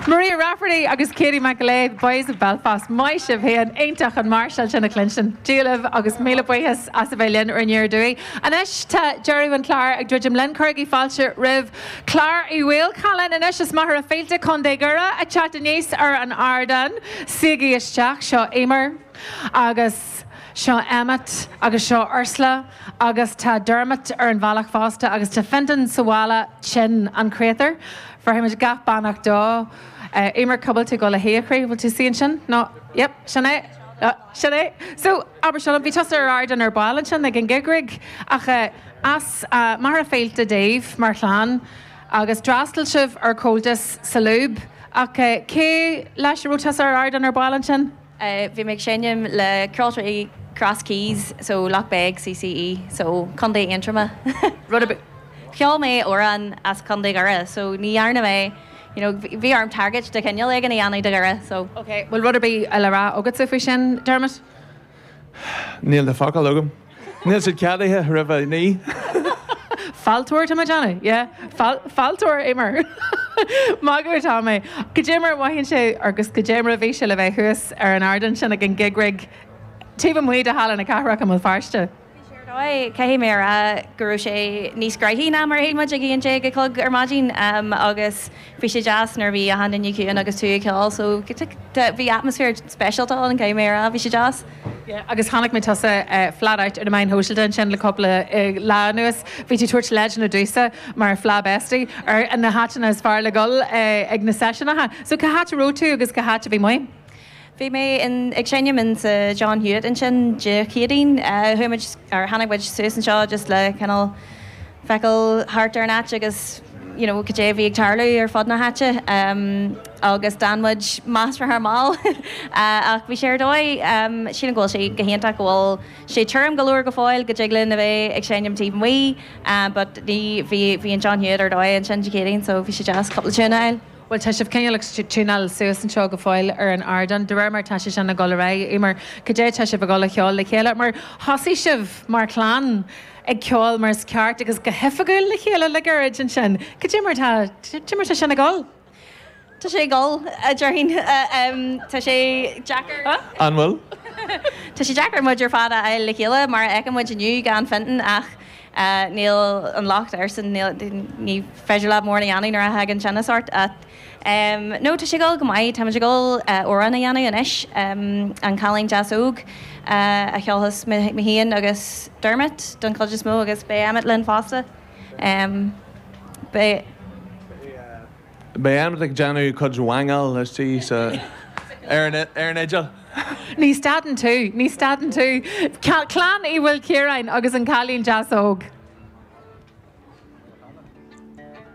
Maria Rafferty agus Katie McAleer, Boys of Belfast, maith sibh féin, iontach an máirseáil sin a chluinstin. Dia libh agus míle buíochas as a bheith linn ar Aniar Aduaidh. Anois tá deireadh an chláir ag druidim linn. Cuirigí fáilte roimh Clár Uí Mhaolchallann anois as Machaire Fíolta, Co. Dhoire, ag teacht aníos ar an ardán. Suígí isteach, seo Emer agus seo Emmet agus seo Ursula agus tá Dermot ar an bhealach fosta agus tá Fintan sa bhaile tinn, an créatúr. Bhéarfaimid gach beannacht dó. Emer, cá bhfuil tú ag dul a shuí, a chroí? Bhfuil tú suí ansin? No, yep, sin é. Sin é. So, abair seo liom, bhí tusa ar ardán ar ball ansin ag an gig rig ach as Machaire Fíolta daoibh mar chlann agus d'fhreastail sibh ar Comhaltas sa Lúb ach cé leis a raibh tusa ar ardán ar ball ansin? Bhí mé ag seinm le Ceoltóirí Cross Keys so Loughbeg CCE so Contae Aontroma. Rud ar bith. Cheol mé amhrán as Contae Dhoire so ní dhearna mé you know bhí orm tagairt de chineál éigin a dhéanamh do Dhoire so. Ok, bhfuil rud ar bith le rá agatsa faoi sin, Dermot? Níl na focail agam. Níl siad ceadaithe roimh a 9. Fealltóir tá mé ag déanamh, yeah. Fealltóir, Emer. Magadh atá mé. Goidé mar a mhothaíonn sé agus goidé mar a bhí sé le bheith thuas ar an ardán sin ag an gig rig taobh amuigh de Halla na Cathrach i mBéal Feirste? Bhí sé ar dóigh. Caithfidh mé a rá go raibh sé níos graithí ná mar a shíl muid ag 11 a chlog ar maidin agus bhí sé deas nuair a bhí achan duine ciúin agus tú ag ceol so bhí atmaisféar speisialta ann caithfidh mé a rá, bhí sé deas. Yeah agus chonaic mé tusa flat out ar na meáin shóisialta ansin le cúpla lá anuas. Bhí tú tabhairt leideanna domhsa mar Fleadh Bestie ar na háiteanna is fearr le dhul ag na seisiúnacha. So cá háit a raibh tú agus cá háit a bhí muid? Bhí mé in ag seinm in sa John Hewitt ansin Dé Céadaoin. Chuaigh muid or tháinig muid suas anseo just le cineál feiceáil thart ar an áit agus you know cad é a bhí ag tarlú ar fud na háite agus d'fhan muid measartha mall ach bhí sé ar dóigh. Sílim go bhfuil sé go hiontach go bhfuil sé tirim go leor go fóill go dtig linn a bheith ag seinm taobh amuigh but ní bhí bhí an John Hewitt ar dóigh ansin Dé Céadaoin so bhí sé deas cúpla tune a fháil. Bhuel, tá sibh cineál ag tiúnáil suas anseo go fóill ar an ardán, de réir mar tá sé sin ag dul ar aghaidh. Emer, cad é tá sibh ag dul a cheol le chéile? Mar thosaigh sibh mar chlann ag ceol mar is ceart agus go hoifigiúil le chéile le gairid ansin. Cad é mar tá, cad é mar tá sin ag dul? Tá sé ag dul, a déarfainn. Tá sé deacair. An bhfuil? Tá sé deacair muid ar fad a fháil le chéile, mar a fheiceann muid inniu, gan Fintan ach níl an locht airsean, ní féidir leat mórán a dhéanamh nuair a thagann tinneas ort ach no tá sé ag dul go maith, táimid ag dul amhrán a dhéanamh anois, An Cailín Deas Óg a cheolfas mé féin agus Dermot don chuid is mó agus beidh Emmet linn fosta. Beidh. Beidh Emmet ag déanamh cuid wangáil istigh sa ar an ar an fhidil. Ní stadann tú, ní stadann tú. Clann Uí Mhaoilchiaráin agus an Cailín Deas Óg.